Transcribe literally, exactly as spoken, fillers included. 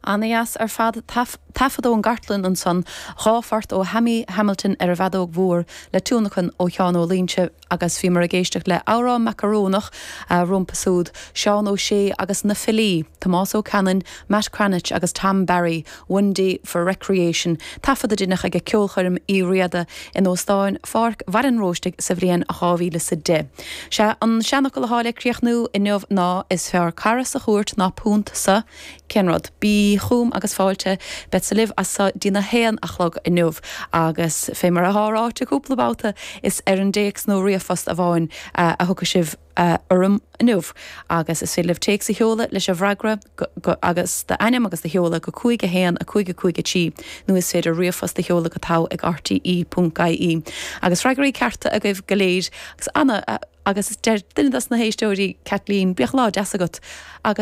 An-dheas ar fad taifead ón gcartlann ansan dhá phort ó Hammy Hamilton ar an bhfeadóg mhór le tionlacan ó Sheán Ó Loingsigh agus bhíomar ag éisteacht le amhrán macarónach rompu súd Seán Ó Sé agus na filí, Tomás Ó Canainn, Matt Cranitch agus Tom Barry, One Day for Recreation, taifead a deineadh ag ceolchoirm Uí Riada in Óstán Pháirc Bhaile an Róistigh sa bhliain dhá mhíle is a deich. Sé an seanfhocal atá le críochnú inniu ná is fearr cara sa chúirt ná punt sa cén rud. Bí chugam agus fáilte beadsa libh as seo dtína haon a chlog inniu agus fé mar atá ráite cúpla babhta is ar an dtéacs nó ríomhphost amháin a thiocfaidh sibh orm inniu agus is féidir libh téacs a sheoladh leis an bhfreagra agus d'ainm agus do sheoladh go cúig a haon a cúig a cúig a trí nó is féidir ríomhphost a sheoladh go togha ag RTE ponc IE. Agus freagraí cearta agaibh go léir agus anna agus deir duine dos na héisteoirí Kathleen bíodh lá deas agat agus